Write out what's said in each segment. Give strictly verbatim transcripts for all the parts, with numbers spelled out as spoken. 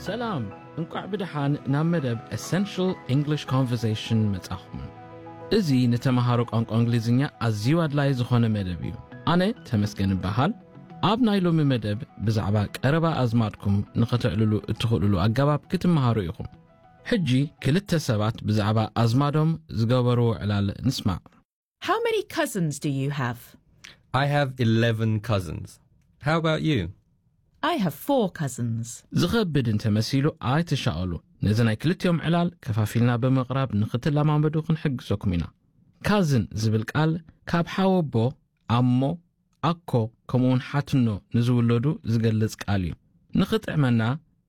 ሰላም፣ እንቋዕ ብድሓን ናብ መደብ Essential English Conversation መጻኹም። እዚ ንተምሃሮ ቋንቋ እንግሊዝኛ ኣዝዩ ኣድላይ ዝኾነ መደብ እዩ። ኣነ ተመስገን እበሃል። ኣብ ናይ ሎሚ መደብ ብዛዕባ ቀረባ ኣዝማድኩም ንኽትዕልሉ እትኽእልሉ ኣገባብ ክትመሃሩ ኢኹም። ሕጂ ክልተ ሰባት ብዛዕባ ኣዝማዶም ዝገበርዎ ዕላል ንስማዕ። How many cousins do you have? I have eleven cousins. How about you? I have four cousins. ዝኸብድ እንተመሲሉ ኣይትሻቐሉ። ነዚ ናይ ክልቲኦም ዕላል ከፋፊልና ብምቕራብ ንኽትለማመዱ ክንሕግዘኩም ኢና። Cousin ዝብል ቃል ካብ ሓወቦ፣ ኣሞ፣ ኣኮ ከምኡውን ሓትኖ ንዝውለዱ ዝገልጽ ቃል እዩ። ንኽጥዕመና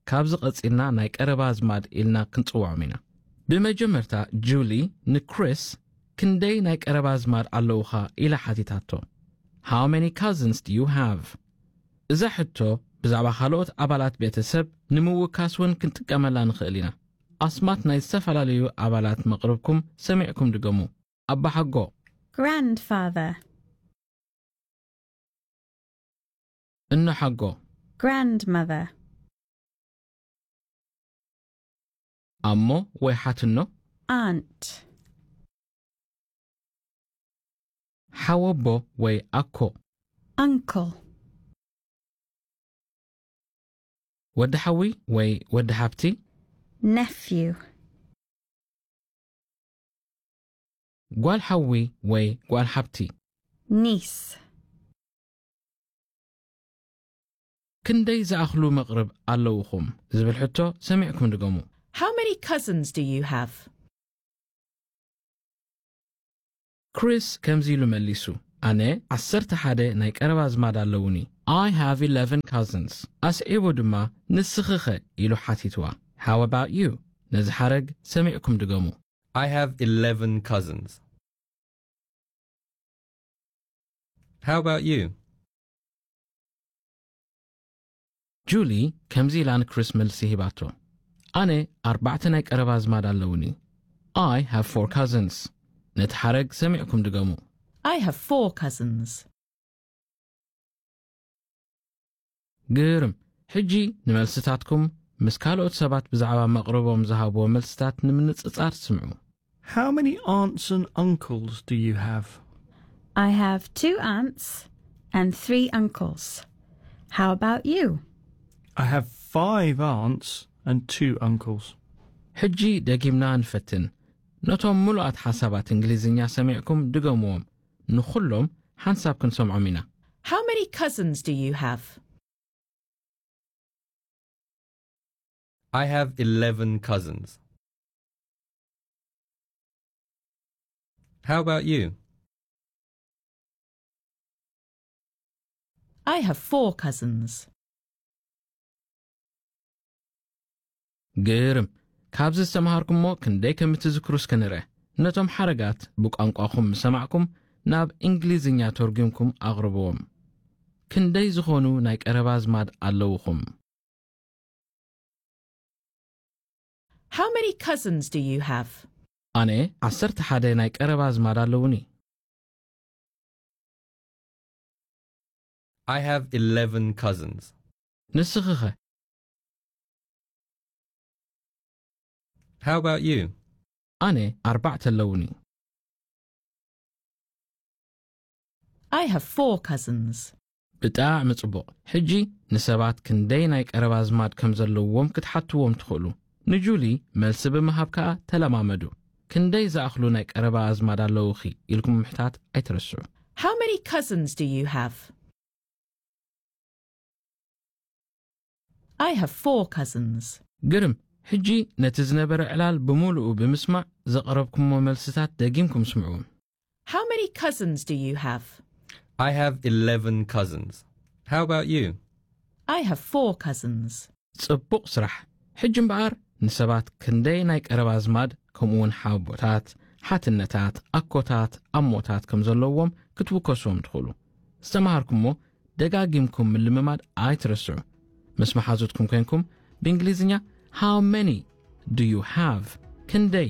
ካብዚ ቐጺልና ናይ ቀረባ ኣዝማድ ኢልና ክንጽውዖም ኢና። ብመጀመርታ ጁሊ ንክሪስ ክንደይ ናይ ቀረባ ኣዝማድ ኣለውኻ ኢላ ሓቲታቶ። "How many cousins do you have?" እዛ ሕቶ ብዛዕባ ካልኦት ኣባላት ቤተሰብ ንምውካስ እውን ክንጥቀመላ ንኽእል ኢና። ኣስማት ናይ ዝተፈላለዩ ኣባላት መቕርብኩም ሰሚዕኩም ድገሙ። ኣባሓጎ። Grandfather. እኖሓጎ። Grandmother. ኣሞ ወይ ሓትኖ። Aunt. ሓወቦ ወይ ኣኮ። Uncle. ወዲ ሓዊ ወይ ወዲ ሓብቲ። Nephew. ጓል ሓዊ ወይ ጓል ሓብቲ። Niece. ክንደይ ዝኣኽሉ መቕርብ ኣለውኹም ዝብል ሕቶ ሰሚዕኩም ድገሙ። How many cousins do you have? ክሪስ ከምዚ ኢሉ መሊሱ፣ ኣነ ዓሰርተ ሓደ ናይ ቀረባ ኣዝማድ ኣለውኒ። I have eleven cousins. ኣስዒቡ ድማ ንስኺ ኸ ኢሉ ሓቲትዋ። "How about you?" ነዚ ሓረግ ሰሚዕኩም ድገሙ። I have eleven cousins. How about you? ጁሊ ከምዚ ኢላ ንክሪስ መልሲ ሂባቶ፣ ኣነ ኣርባዕተ ናይ ቀረባ ኣዝማድ ኣለውኒ። I have four cousins. ነቲ ሓረግ ሰሚዕኩም ድገሙ። I have four cousins. ግርም! ሕጂ ንመልስታትኩም ምስ ካልኦት ሰባት ብዛዕባ መቕርቦም ዝሃብዎ መልስታት ንምንጽጻር ስምዑ። How many aunts and uncles do you have? I have two aunts and three uncles. How about you? I have five aunts and two uncles. ሕጂ ደጊምና ንፈትን። ነቶም ምሉኣት ሓሳባት እንግሊዝኛ ሰሚዕኩም ድገምዎም። ንኹሎም ሓንሳብ ክንሰምዖም ኢና። How many cousins do you have? I have eleven cousins. How about you? I have four cousins. ግርም! ካብዚ ዝተምሃርኩምሞ ክንደይ ከም እትዝክሩ እስከ ንርአ። ነቶም ሓረጋት ብቋንቋኹም ምስ ሰማዕኩም ናብ እንግሊዝኛ ተርጉምኩም ኣቕርብዎም። ክንደይ ዝኾኑ ናይ ቀረባ ኣዝማድ ኣለውኹም? How many cousins do you have? ኣነ ዓሰርተ ሓደ ናይ ቀረባ ኣዝማድ ኣለውኒ። I have eleven cousins. ንስኺ ኸ? How about you? ኣነ ኣርባዕተ ኣለውኒ። I have four cousins. ብጣዕሚ ጽቡቕ! ሕጂ ንሰባት ክንደይ ናይ ቀረባ ኣዝማድ ከም ዘለውዎም ክትሓትዎም ትኽእሉ። ንጁሊ መልሲ ብምሃብ ከዓ ተለማመዱ። ክንደይ ዝኣኽሉ ናይ ቀረባ ኣዝማድ ኣለውኺ ኢልኩም ምሕታት ኣይትረስዑ። How many cousins do you have? I have four cousins. ግርም! ሕጂ ነቲ ዝነበረ ዕላል ብምሉኡ ብምስማዕ ዘቕረብኩሞ መልስታት ደጊምኩም ስምዕዎም። How many cousins do you have? I have eleven cousins. How about you? I have four cousins. ጽቡቕ ስራሕ! ሕጂ እምበኣር ንሰባት ክንደይ ናይ ቀረባ ኣዝማድ ከምኡውን ሓቦታት፣ ሓትነታት፣ ኣኮታት፣ ኣሞታት ከም ዘለዎም ክትውከስዎም ትኽእሉ። ዝተምሃርኩምሞ ደጋጊምኩም ምልምማድ ኣይትረስዑ። ምስ መሓዙትኩም ኮንኩም ብእንግሊዝኛ "How many do you have?" ክንደይ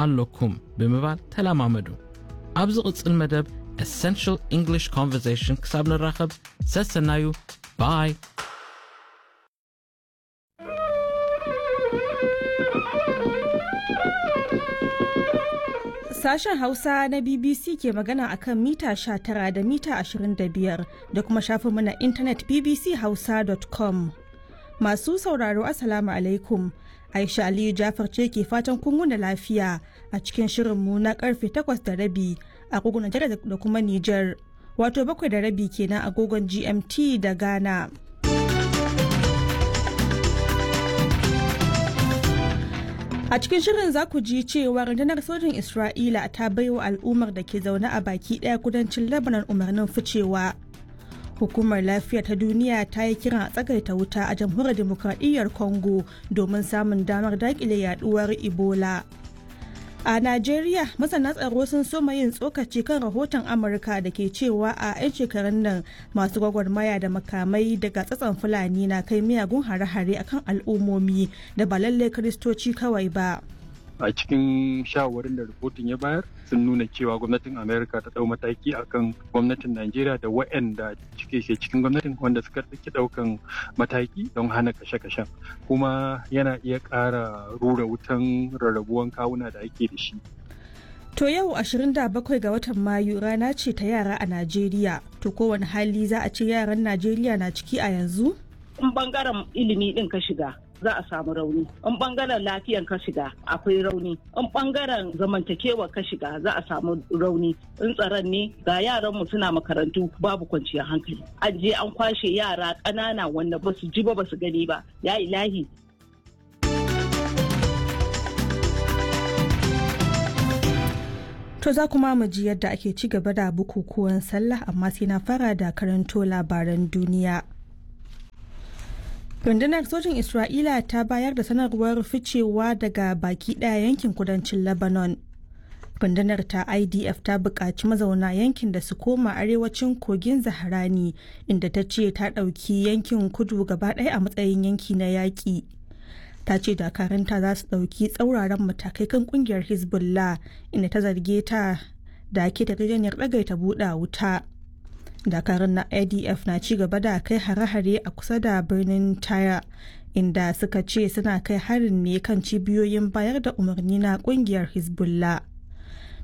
ኣለኩም ብምባል ተለማመዱ። ኣብ ዝቕጽል መደብ Essential English Conversation ክሳብ ንራኸብ ሰሰናዩ። Bye. Sashen Hausa na B B C ke magana akan mita sha tara da mita ashirin da biyar da kuma shafinmu na intanet B B C hausa dot com. Masu sauraro, Assalamu alaikum. Aisha Aliyu Jafar ce ke fatan kun wuni lafiya a cikin shirinmu na karfe takwas da rabi a agogon Najeriya da kuma Nijar. Wato bakwai da rabi kenan agogon G M T da Ghana. A cikin shirin za ku ji cewa rundunar sojin Isra'ila ta baiwa al'ummar da ke zaune a baki ɗaya kudancin Lebanon umarnin ficewa. Hukumar Lafiya ta Duniya ta yi kiran a tsagaita wuta a Jamhuriyar Demokradiyyar Congo domin samun damar dakile yaduwar Ebola. A Najeriya, masana tsaro sun soma yin tsokaci kan rahoton Amurka da ke cewa a 'yan shekarun nan masu gwagwarmaya da makamai daga tsatson Fulani na kai miyagun hare-hare akan al'ummomi da ba lallai Kiristoci kawai ba. A cikin shawarin da rahoton ya bayar, sun nuna cewa gwamnatin Amerika ta dau mataki akan gwamnatin Najeriya da waɗanda cike ke cikin gwamnatin wanda suka ɗauki ɗaukan mataki don hana kashe-kashen, kuma yana iya ƙara rura wutan rarrabuwan kawuna da ake da shi. To yau ashirin da bakwai ga watan Mayu rana ce ta yara a Najeriya. To kowane hali za a ce yaran Najeriya na ciki a yanzu? In bangaren ilimi din ka shiga, za a samu rauni. In bangaren lafiyan ka shiga, akwai rauni. In bangaren zamantakewa ka shiga, za a samu rauni. In tsaron ne, ga yaran mu suna makarantu babu kwanciyar hankali. An je an kwashe yara ƙanana wanda ba su ji ba, ba su gani ba. Ya ilahi. To za kuma mu ji yadda ake ci gaba da bukukuwan sallah, amma sai na fara da karanto labaran duniya. Rundunar sojin Isra'ila ta bayar da sanarwar ficewa daga baki ɗaya yankin kudancin Lebanon. Rundunar ta I D F ta buƙaci mazauna yankin da su koma arewacin kogin Zaharani, inda ta ce ta ɗauki yankin kudu gaba ɗaya a matsayin yanki na yaƙi. Ta ce dakaranta za su ɗauki tsauraran matakai kan ƙungiyar Hezbollah, inda ta zarge ta da ke yarjejeniyar ɗagaita buɗa wuta. Dakarun na I D F na ci gaba da kai hare-hare a kusa da birnin Taya, inda suka ce suna kai harin ne kan cibiyoyin bayar da umarni na kungiyar Hezbollah.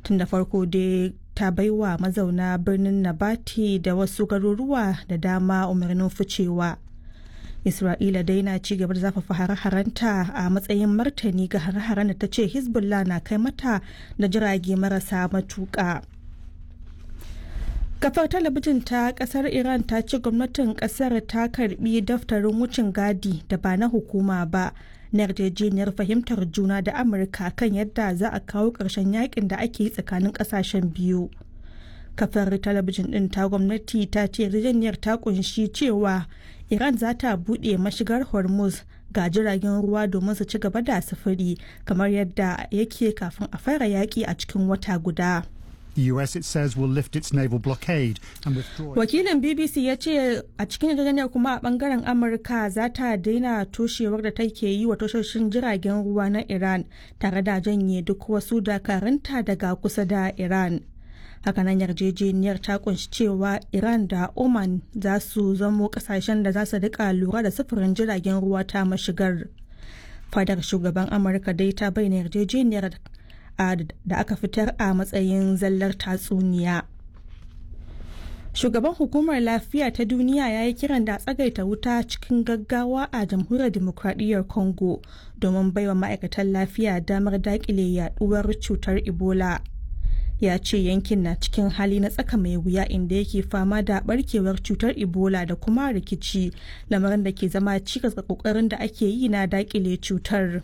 Tun da farko dai ta baiwa mazauna birnin Nabati da wasu garuruwa da dama umarnin ficewa. Isra'ila dai na ci gaba da zafafa hare-harenta a matsayin martani ga hare-haren da ta ce Hezbollah na kai mata da jirage marasa matuƙa. Kafar talabijin ta kasar Iran ta ce gwamnatin kasar ta karbi daftarin wucin gadi da ba na hukuma ba na yarjejeniyar fahimtar juna da Amurka kan yadda za a kawo ƙarshen yakin da ake yi tsakanin ƙasashen biyu. Kafar talabijin din ta gwamnati ta ce yarjejeniyar ta kunshi cewa Iran za ta buɗe mashigar Hormuz ga jiragen ruwa domin su ci gaba da sufuri kamar yadda yake kafin a fara yaƙi a cikin wata guda. The U S, it says, will lift its naval blockade and withdraw. Wakilin B B C ya ce a cikin yarjejeniyar kuma a bangaren Amurka za ta daina toshewar da take yi wa tashoshin jiragen ruwa na Iran tare da janye duk wasu dakarunta daga kusa da Iran. Hakanan yarjejeniyar ta kunshi cewa Iran da Oman za su zamo kasashen da za su rika lura da sufurin jiragen ruwa ta mashigar. Fadar shugaban Amurka dai ta bayyana yarjejeniyar da aka fitar a matsayin zallar tatsuniya. Shugaban Hukumar Lafiya ta Duniya ya yi kiran da tsagaita wuta cikin gaggawa a Jamhuriyar Demokradiyyar Congo domin baiwa ma'aikatan lafiya damar dakile yaduwar cutar Ebola. Ya ce yankin na cikin hali na tsaka mai wuya, inda yake fama da barkewar cutar Ebola da kuma rikici, lamarin da ke zama cikas ga kokarin da ake yi na dakile cutar.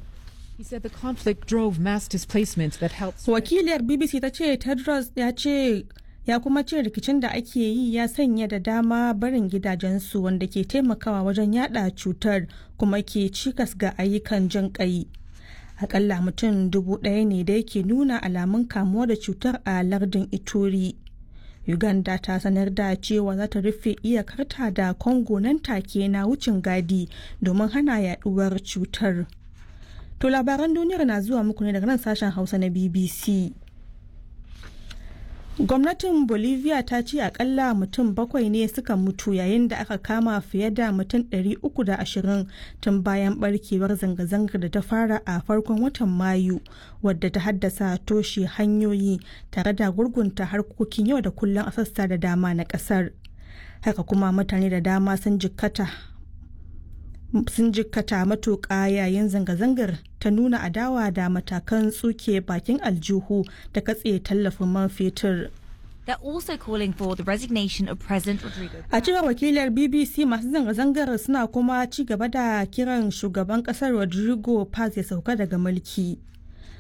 He said the conflict drove mass displacement that helped. Wakiliyar B B C ta ce Tedros ya ce ya kuma ce rikicin da ake yi ya sanya da dama barin gidajensu, wanda ke taimakawa wajen yada cutar kuma ke cikas ga ayyukan jin kai. Akalla mutum dubu ɗaya ne da yake nuna alamun kamuwa da cutar a lardin Ituri. Uganda ta sanar da cewa za ta rufe iyakarta da Congo nan take na wucin gadi domin hana yaduwar cutar. To labaran duniyar na zuwa muku ne daga nan sashen Hausa na B B C. Gwamnatin Bolivia ta ce akalla mutum bakwai ne suka mutu yayin da aka kama fiye da mutum ɗari uku da ashirin tun bayan barkewar zanga-zangar da ta fara a farkon watan Mayu, wadda ta haddasa toshe hanyoyi tare da gurgunta harkokin yau da kullum a sassa da dama na kasar. Haka kuma mutane da dama sun jikkata sun jikkata matuƙa yayin zanga-zangar ta nuna adawa da matakan tsuke bakin aljihu da katse tallafin man fetur. They're also calling for the resignation of President Rodrigo. A cewar wakilar B B C, masu zanga-zangar suna kuma ci gaba da kiran shugaban kasar Rodrigo Paz ya sauka daga mulki.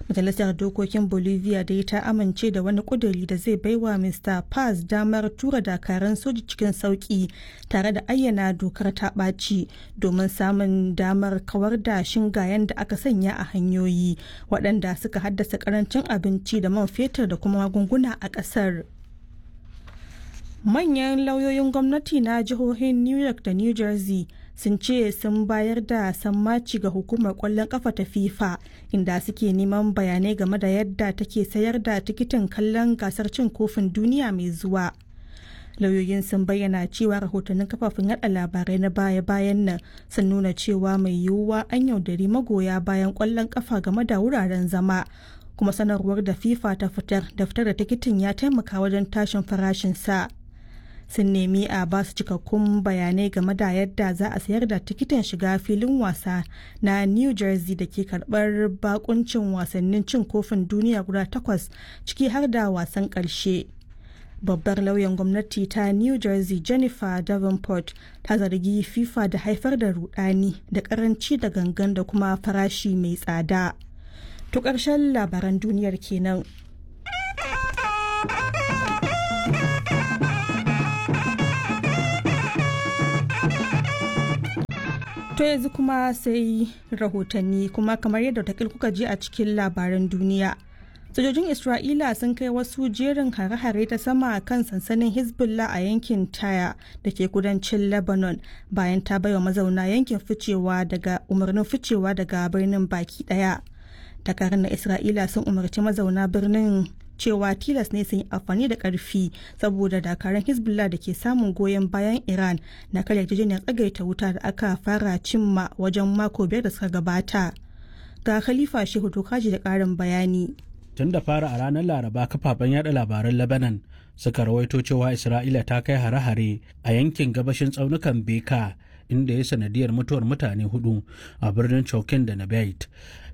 Majalisar Dokokin Bolivia dai ta amince da wani kuduri da zai baiwa Mister Paz damar tura dakaran soji cikin sauki tare da ayyana dokar ta ɓaci domin samun damar kawar da shingayen da aka sanya a hanyoyi, waɗanda suka haddasa karancin abinci da man fetur da kuma magunguna a ƙasar. Manyan lauyoyin gwamnati na jihohin New York da New Jersey sun ce sun bayar da sammaci ga hukumar kwallon kafa ta FIFA, inda suke neman bayanai game da yadda take sayar da tikitin kallon gasar cin kofin duniya mai zuwa. Lauyoyin sun bayyana cewa rahotannin kafafen yada labarai na baya-bayan nan sun nuna cewa mai yiwuwa an yaudari magoya bayan kwallon kafa game da wuraren zama, kuma sanarwar da FIFA ta fitar da fitar da tikitin ya taimaka wajen tashin farashin sa. Sun nemi a ba su cikakkun bayanai game da yadda za a sayar da tikitin shiga filin wasa na New Jersey da ke karbar bakuncin wasannin cin kofin duniya guda takwas, ciki har da wasan karshe. Babbar lauyan gwamnati ta New Jersey, Jennifer Davenport, ta zargi FIFA da haifar da rudani da karanci da gangan da kuma farashi mai tsada. To, ƙarshen labaran duniyar kenan. To, yanzu kuma sai rahotanni. Kuma kamar yadda takil kuka ji a cikin labaran duniya, sojojin Isra'ila sun kai wasu jerin hare-hare ta sama kan sansanin Hezbollah a yankin Taya da ke kudancin Lebanon, bayan ta baiwa mazauna yankin ficewa daga umarnin ficewa daga birnin baki daya. Dakarun na Isra'ila sun umarci mazauna birnin cewa tilas ne sun yi amfani da karfi saboda dakarun Hezbollah da ke samun goyon bayan Iran na karya yarjejeniyar tsagaita wuta da aka fara cimma wajen mako biyar da suka gabata. Ga Khalifa Shehu Tokaji da karin bayani. Tun da fara a ranar Laraba, kafafen yada labaran Lebanon suka rawaito cewa Isra'ila ta kai hare-hare a yankin gabashin tsaunukan Beka, inda ya sanadiyar mutuwar mutane hudu a birnin Chokin da Nabait.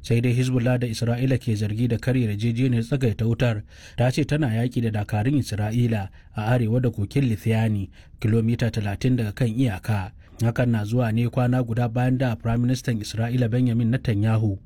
Sai dai Hezbollah da Isra'ila ke zargi da karya yarjejeniyar tsagaita wutar ta ce tana yaki da dakarun Isra'ila a arewa da kokin Lithiani, kilomita talatin daga kan iyaka. Hakan na zuwa ne kwana guda bayan da Prime Minister Isra'ila Benjamin Netanyahu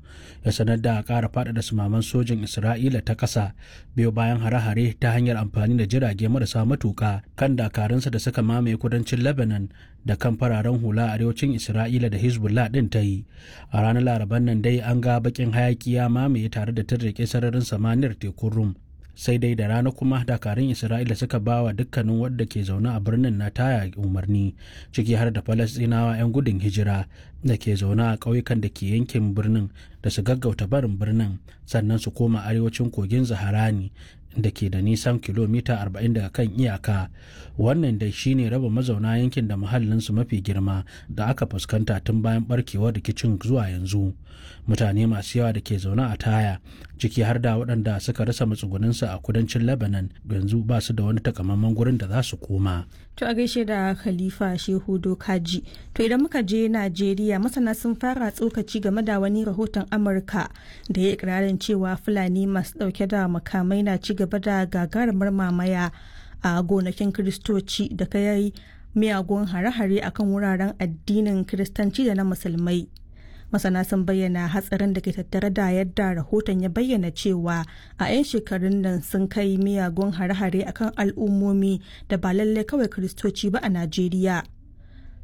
ya sanar da ƙara faɗaɗa sumaman sojin Isra'ila ta ƙasa, biyo bayan hare-hare ta hanyar amfani da jirage marasa matuka kan dakarunsa da suka mamaye kudancin Lebanon da kan fararen hula arewacin Isra'ila da Hezbollah ɗin ta yi. A ranar Laraban nan dai an ga bakin hayaki ya mamaye tare da tirrike sararin samaniyar tekun Rum. Sai dai da rana kuma dakarun Isra'ila suka ba wa dukkanin wadda ke zaune a birnin na Taya umarni, ciki har da Falastinawa 'yan gudun hijira da ke zaune a ƙauyukan da ke yankin birnin, da su gaggauta barin birnin sannan su koma arewacin kogin Zaharani da ke da nisan kilomita arba'in daga kan iyaka. Wannan dai shine raba mazauna yankin da muhallinsu mafi girma da aka fuskanta tun bayan barkewar rikicin zuwa yanzu. Mutane masu yawa da ke zaune a Taya, ciki har da waɗanda suka rasa matsugunansu a kudancin Lebanon, yanzu ba su da wani takamaiman gurin da za su koma. To, a gaishe da Khalifa Shehu Dokaji. To, idan muka je Najeriya, masana sun fara tsokaci game da wani rahoton Amurka da ya ikirarin cewa Fulani masu dauke da makamai na ci gaba da gagarumar mamaya a gonakin Kiristoci da kai miyagun hare-hare akan wuraren addinin Kiristanci da na Musulmai. Masana sun bayyana hatsarin da ke tattare da yadda rahoton ya bayyana cewa a 'yan shekarun nan sun kai miyagun hare-hare akan al'ummomi da ba lallai kawai Kiristoci ba a Najeriya.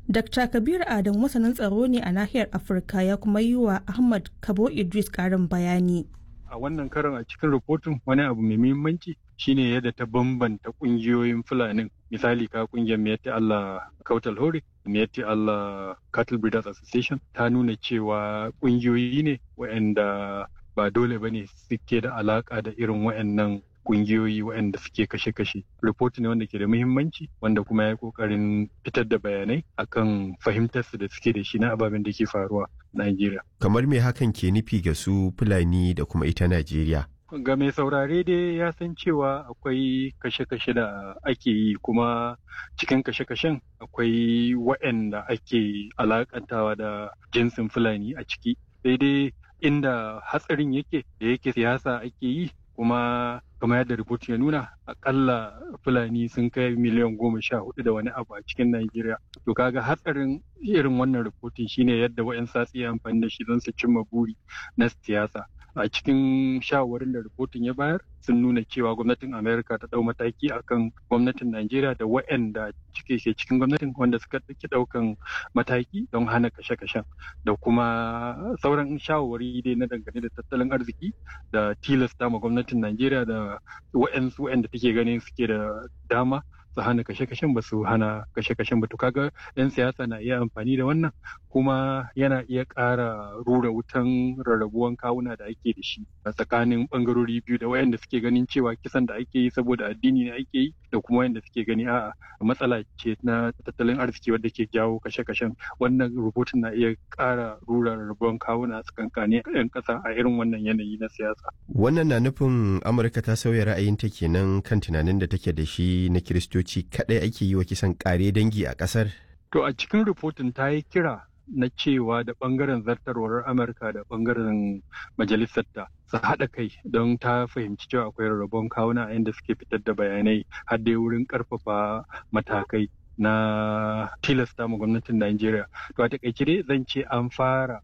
Dakta Kabir Adam masanin tsaro ne a nahiyar Afirka, ya kuma yi wa Ahmad Kabo Idris karin bayani. A wannan karon, a cikin rahoton, wani abu mai muhimmanci shine yadda ta bambanta kungiyoyin Fulanin. Misali, ka kungiyar Miyetti Allah Kautal Hore, Miyetti Allah Cattle Breeders Association, ta nuna cewa kungiyoyi ne waɗanda ba dole ba ne suke da alaka da irin waɗannan kungiyoyi waɗanda suke kashe-kashe. Report ne wanda ke da muhimmanci wanda kuma ya yi ƙoƙarin fitar da bayanai akan fahimtarsu da suke da shi na ababen da ke faruwa Najeriya. Kamar me hakan ke nufi ga su Fulani da kuma ita Najeriya? Ga mai saurare dai ya san cewa akwai kashe-kashe da ake yi, kuma cikin kashe-kashen akwai waɗanda ake alakantawa da jinsin Fulani a ciki. Sai dai inda hatsarin yake, da yake siyasa ake yi, kuma kamar yadda rubutun ya nuna, akalla Fulani sun kai miliyan goma sha hudu da wani abu a cikin Najeriya. To kaga hatsarin irin wannan rubutun shine yadda wa'yan satsi amfani da shi don su cimma buri na siyasa. A cikin shawarwarin da rubutun ya bayar sun nuna cewa gwamnatin Amerika ta dau mataki akan gwamnatin Najeriya da waɗanda cike ke cikin gwamnatin wanda suka ɗauki ɗaukan mataki don hana kashe-kashen, da kuma sauran shawarwari dai na dangane da tattalin arziki da tilasta ma gwamnatin Najeriya da waɗansu waɗanda take ganin suke da dama su hana kashe-kashen ba su hana kashe-kashen ba. To kaga 'yan siyasa na iya amfani da wannan, kuma yana iya ƙara rura wutan rarrabuwan kawuna da ake da shi a tsakanin bangarori biyu, da wayanda suke ganin cewa kisan da ake yi saboda addini ne ake yi, da kuma wayanda suke gani a'a, matsala ce na tattalin arziki wadda ke jawo kashe-kashen. Wannan rubutun na iya ƙara rura rarrabuwan kawuna tsakankanin 'yan ƙasa a irin wannan yanayi na siyasa. Wannan na nufin Amurka ta sauya ra'ayinta kenan kan tunanin da take da shi na Kiristoci kaɗai ake yi wa kisan ƙare dangi a ƙasar? To a cikin rahoton ta yi kira na cewa da ɓangaren zartarwar Amurka da ɓangaren majalisarta su haɗa kai, don ta fahimci cewa akwai rarrabon kawuna a inda suke fitar da bayanai, har dai wurin ƙarfafa matakai na tilasta ma gwamnatin Najeriya. To a takaice dai zan ce an fara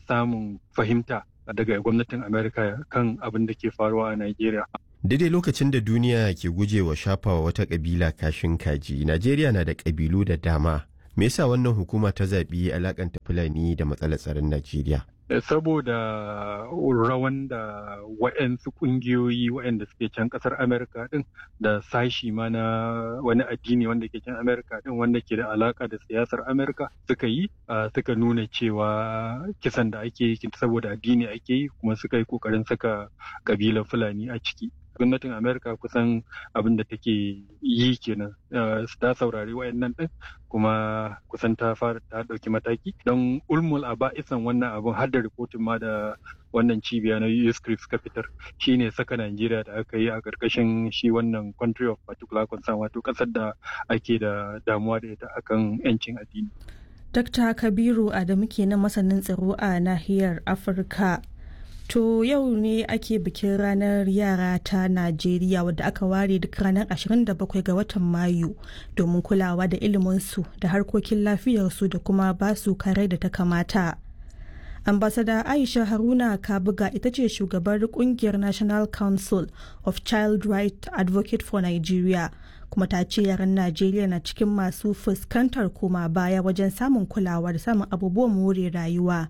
samun fahimta daga gwamnatin Amurka kan abin da ke faruwa a Najeriya. Daidai lokacin da duniya ke gujewa shafawa wata kabila kashin kaji, Najeriya na da kabilu da dama. Me yasa wannan hukuma ta zaɓi alakanta Fulani da matsalar tsaron Najeriya? Saboda rawan da wa'yansu ƙungiyoyi wa'yanda suke can ƙasar Amerika din, da sashi ma na wani addini wanda ke can Amerika din wanda ke da alaka da siyasar Amerika suka yi, suka nuna cewa kisan da ake yi saboda addini ake yi, kuma suka yi ƙoƙarin saka ƙabilar Fulani a ciki. Gwamnatin Amerika kusan abin da take yi kenan, ta saurari wayannan din, kuma kusan ta fara ta dauki mataki don ulmul a ba'isan wannan abin, har da rikotin ma da wannan cibiya na U S C suka fitar, shine saka Najeriya da aka yi a karkashin shi wannan country of particular concern, wato kasar da ake da damuwa da ita akan yancin addini. Dakta Kabiru Adamu kenan, masanin tsaro a nahiyar Afirka. To yau ne ake bikin ranar yara ta Najeriya, wadda aka ware duk ranar ashirin da bakwai ga watan Mayu domin kulawa da iliminsu da harkokin lafiyarsu da kuma basu kare da ta kamata. Ambasada Aisha Haruna Kabuga ita ce shugabar kungiyar National Council of Child Right Advocate for Nigeria, kuma ta ce yaran Najeriya na cikin masu fuskantar koma baya wajen samun kulawa da samun abubuwan more rayuwa.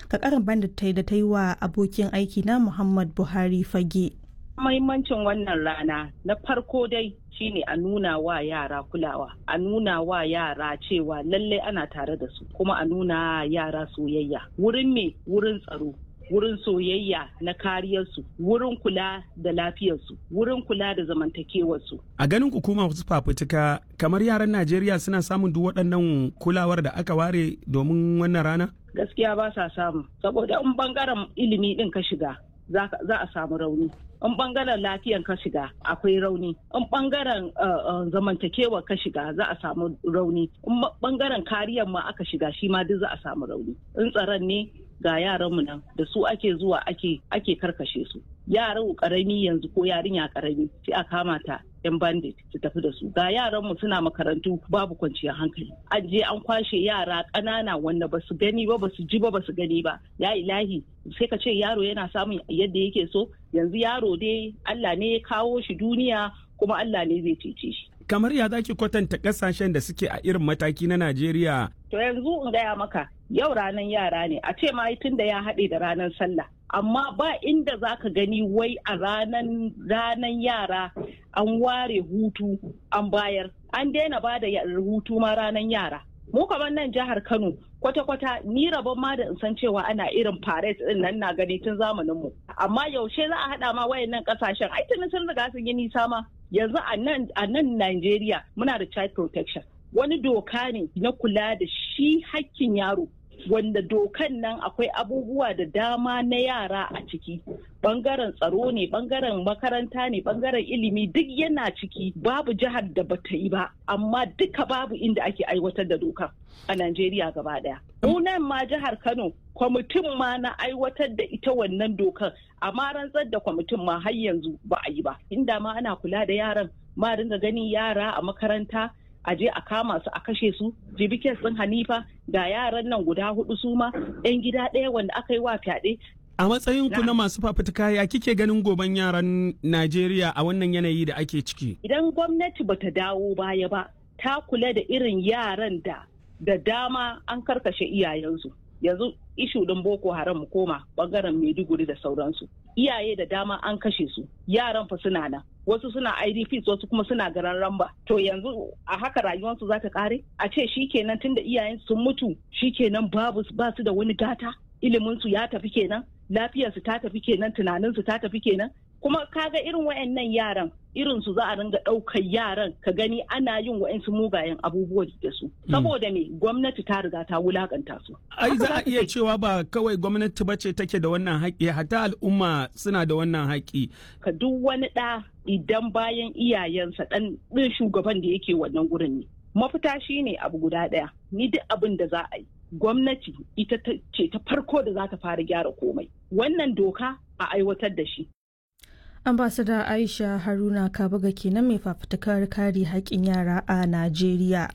Ka karin banda ta yi da ta yi wa abokin aiki na Muhammad Buhari Fage. Mahimmancin wannan rana na farko dai shine a nuna wa yara kulawa, a nuna wa yara cewa lallai ana tare da su, kuma a nuna yara soyayya. Wurin me? Wurin tsaro, wurin soyayya na kariyarsu, wurin kula da lafiyarsu, wurin kula da zamantakewarsu. A ganin hukuma wasu fafutuka, kamar yaran Najeriya suna samun duk waɗannan kulawar da aka ware domin wannan rana? Gaskiya ba sa samu, saboda in bangaren ilimi din ka shiga za a samu rauni. In bangaren lafiyan ka shiga akwai rauni. In bangaren zamantakewa ka shiga za a samu rauni. In bangaren kariyar ma aka shiga, shi ma duk za a samu rauni. In tsaron ne, ga yaranmu nan da su ake zuwa ake ake karkashe su. Yaran karami yanzu ko yarinya karami sai a kama ta, yan bandit su tafi da su. Ga yaranmu suna makarantu, babu kwanciyar hankali. An je an kwashe yara ƙanana wanda ba su gani ba, ba su ji ba, ba su gani ba. Ya ilahi, sai ka ce yaro yana samun yadda yake so? Yanzu yaro dai Allah ne ya kawo shi duniya, kuma Allah ne zai cece shi. Kamar ya zaki kwatanta kasashen da suke a irin mataki na Najeriya? To yanzu in gaya maka, yau ranar yara ne, a ce ma tun da ya haɗe da ranar sallah, amma ba inda za ka gani wai a ranan ranan yara an ware hutu an bayar. An daina ba da hutu ma ranar yara. Mu kamar nan jihar Kano Kwata-kwata ni rabon ma da in san cewa ana irin parade din nan na gani tun zamanin mu. Amma yaushe za a haɗa ma wayannan ƙasashen, ai tuni sun riga sun yi nisa ma. Yanzu a nan a nan Najeriya muna da child protection. Wani doka ne na kula da shi hakkin yaro, wanda dokan nan akwai abubuwa da dama na yara a ciki, bangaren tsaro ne, bangaren makaranta ne, bangaren ilimi, duk yana ciki. Babu jihar da bata yi ba, amma duka babu inda ake aiwatar da dokan a Najeriya gaba daya. Nan ma jihar Kano, kwamitin ma na aiwatar da ita wannan dokan, amma rantsar da kwamitin ma har yanzu ba a yi ba. Inda ma ana kula da yaran ma, dinga ganin yara a makaranta a je a kama su a kashe su. Jibi kes ɗin Hanifa, ga yaran nan guda hudu, su ma yan gida ɗaya wanda aka yi wa fyaɗe. A matsayin ku na masu fafutuka, ya kike ganin goben yaran Najeriya a wannan yanayi da ake ciki? Idan gwamnati bata dawo baya ba, ta kula da irin yaran da da dama an karkashe iyayensu. Yanzu issue ɗin Boko Haram, mu koma bangaren Maiduguri da sauransu, iyaye da dama an kashe su, yaran fa suna nan, wasu suna I D Ps, wasu kuma suna garan ramba. To yanzu a haka rayuwarsu za ta kare? A ce shikenan, tunda iyayen sun mutu shikenan, babu, ba su da wani gata, ilimin su ya tafi kenan, lafiyarsu ta tafi kenan, tunanin su ta tafi kenan. Kuma kaga irin wayannan yaran, irin su za a ringa ɗaukar yaran, ka gani ana yin wa'yansu mugayen abubuwa da su, saboda me? Gwamnati ta riga ta wulakanta su. Ai za a iya cewa ba kawai gwamnati ba ce take da wannan haƙƙi, hatta al'umma suna da wannan haƙƙi. Ka duk wani ɗa idan bayan iyayensa, ɗan ɗin shugaban da yake wannan gurin ne. Mafita shine abu guda ɗaya, ni duk abin da za a yi, gwamnati ita ce ta farko da za ta fara gyara komai, wannan doka a aiwatar da shi. Ambasada Aisha Haruna Kabuga kenan, mai fafutukar kare haƙƙin yara a Najeriya.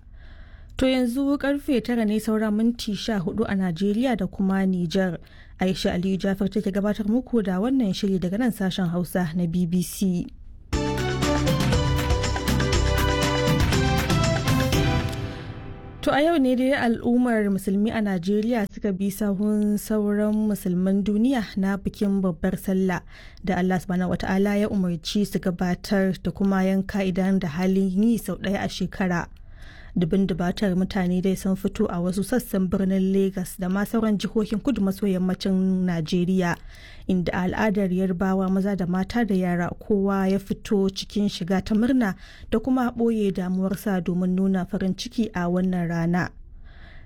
To yanzu karfe tara ne saura minti sha hudu a Najeriya da kuma Nijar. Aisha Aliyu Jafar take gabatar muku da wannan shiri daga nan sashen Hausa na B B C. To a yau ne dai al'ummar musulmi a Najeriya suka bi sahun sauran musulman duniya na bikin babbar sallah da Allah Subhanahu wata'ala ya umarci su gabatar da kuma yanka idan da halin yi sau ɗaya a shekara. Dubin dubatar mutane dai sun fito a wasu sassan birnin Legas da ma sauran jihohin kudu maso yammacin Najeriya, inda al'adar Yarbawa maza da mata da yara kowa ya fito cikin shiga ta murna da kuma ɓoye damuwarsa domin nuna farin ciki a wannan rana.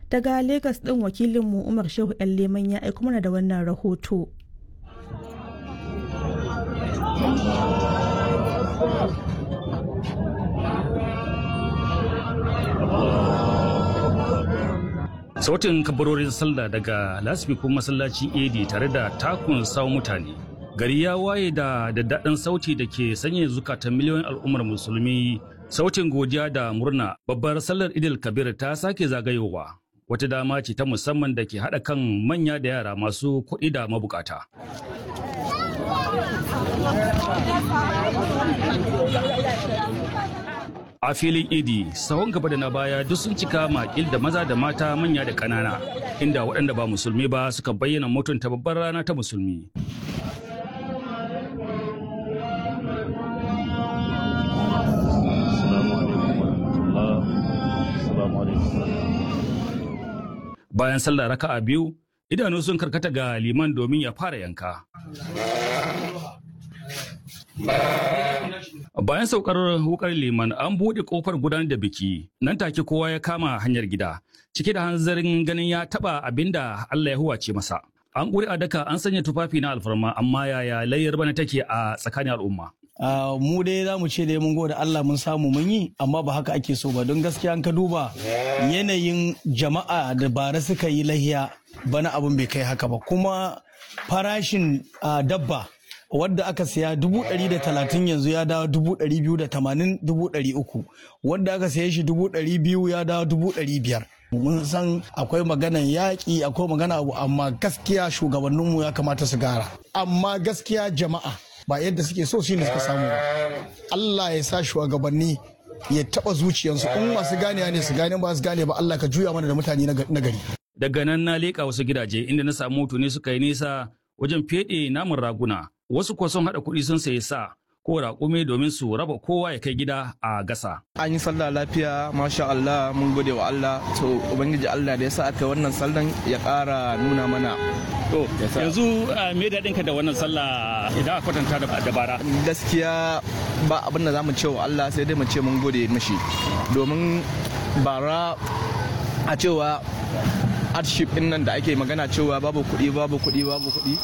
Daga Legas ɗin, wakilinmu Umar Shehu 'Yan Leman ya aiko mana da wannan rahoto. Sautin kabarorin sallah daga lasfikun masallacin Edi tare da takun sawun mutane. Gari ya waye da daddaɗin sauti da ke sanya zukatan miliyoyin al'ummar musulmi. Sautin godiya da murna, babbar sallar Idil Kabir ta sake zagayowa. Wata dama ce ta musamman da ke haɗa kan manya da yara, masu kuɗi da mabukata. A filin Idi, sahun gaba da na baya duk sun cika makil da maza da mata, manya da ƙanana, inda waɗanda ba musulmi ba suka bayyana mutunta babbar rana ta musulmi. Bayan sallah raka'a biyu, idanu sun karkata ga liman domin ya fara yanka. Bayan saukar wukar liman, an buɗe kofar gudanar da biki, nan take kowa ya kama hanyar gida, cike da hanzarin ganin ya taɓa abin da Allah ya huwace masa. An ƙuri a daka, an sanya tufafi na alfarma, amma yaya layyar bana take a tsakanin al'umma? Uh, mu dai za mu ce dai mun gode Allah mun samu mun yi, amma ba haka ake so ba, don gaskiya an ka duba yanayin jama'a da bara suka yi lahiya, bana abin bai kai haka ba. Kuma farashin uh, dabba wadda aka siya dubu ɗari da talatin yanzu ya dawo dubu ɗari biyu da tamanin, dubu ɗari uku. Wadda aka siya shi dubu ɗari biyu ya dawo dubu ɗari biyar. Mun san akwai maganan yaƙi, akwai magana abu, amma gaskiya shugabanninmu ya kamata su gara. Amma gaskiya jama'a ba yadda suke so shine suka samu ba. Allah ya sa shugabanni ya taba zuciyarsu, in masu ganewa ne su gane, ba su gane ba Allah ka juya mana da mutane na gari. Daga nan na leƙa wasu gidaje inda na samu mutane suka yi nisa wajen feɗe namun raguna. Wasu kuwa sun haɗa kuɗi sun sayi sa. ko raƙumi domin su raba kowa ya kai gida a gasa. An yi sallah lafiya, masha Allah, mun gode wa Allah, to Ubangiji Allah da ya sa aka wannan sallan ya ƙara nuna mana. To, yanzu me daɗin ka da wannan sallah idan aka kwatanta da bara? Gaskiya ba abin da za mu ce wa Allah sai dai mu ce mun gode mishi. Domin bara a cewa hardship ɗin nan da ake magana cewa babu kuɗi babu kuɗi babu kuɗi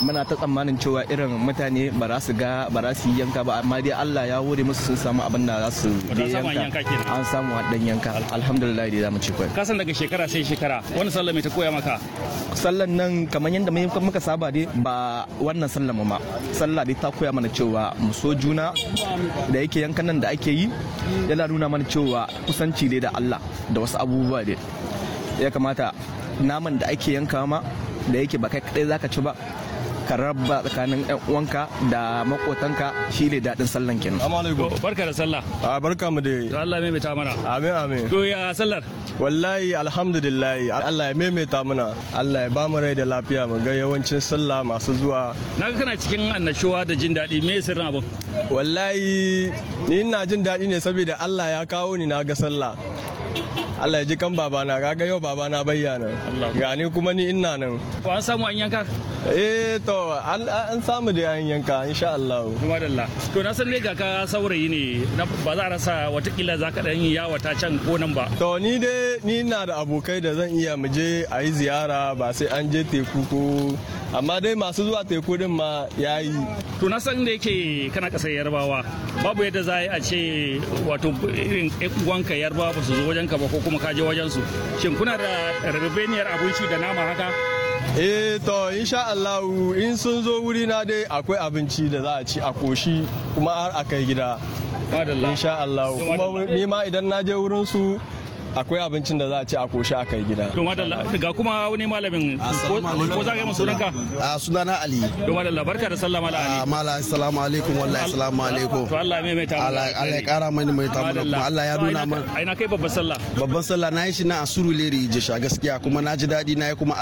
muna ta tsammanin cewa irin mutane ba za su ga ba za su yi yanka ba amma dai Allah ya hore musu sun samu abin da za su yanka an samu dan yanka alhamdulillah dai zamu ci kwai ka san daga shekara sai shekara wannan sallah mai ta koya maka sallan nan kamar yadda muka saba dai ba wannan sallan mu ma sallah dai ta koya mana cewa mu so juna da yake yankan nan da ake yi yana nuna mana cewa kusanci dai da Allah da wasu abubuwa dai ya kamata naman da ake yanka ma da yake ba kai kadai zaka ci ba ka raba tsakanin yan uwanka da makotanka shine daɗin sallan kenan. Barka da sallah. A barka mu dai. To Allah maimaita mana. Amin amin. To ya sallar? Wallahi alhamdulillah Allah ya maimaita mana. Allah ya ba mu rai da lafiya mu ga yawancin sallah masu zuwa. Naga kana cikin annashuwa da jin daɗi me sirrin abin? Wallahi ni ina jin daɗi ne saboda Allah ya kawo ni na ga sallah. Allah ya ji kan babana kaga yau babana bayyana ga ni kuma ni ina nan. Ko an samu an yanka? Eh to an samu da an yanka insha Allah. Madalla. To na san ne ga ka saurayi ne ba za a rasa watakila za ka dan yi yawata can ko nan ba. To ni dai ni ina da abokai da zan iya mu je a yi ziyara ba sai an je teku ko amma dai masu zuwa teku din ma yayi. To na san da yake kana kasar Yarbawa babu yadda za a ce wato irin uwanka Yarbawa ba su zo wajenka ba ko kuma ka je wajen su. Shin kuna da rabebeniyar abinci da nama haka? Eh to insha Allah in sun zo wuri na dai akwai abinci da za a ci a koshi kuma har a kai gida. Insha Allah kuma ni ma idan na je wurin su akwai abincin da za a ci a koshi a kai gida. To madalla ga kuma wani malamin ko za ka yi masu sunanka? A sunana Ali. To madalla barka da sallah mala Ali. Mala assalamu alaikum wallahi assalamu alaikum. To Allah ya maimaita mana. Allah ya kara mani mai ta mana kuma Allah ya nuna mana. Ai na kai babban sallah. Babban sallah na yi shi na Asurulere Ijesha gaskiya kuma na ji daɗi na yi kuma Allah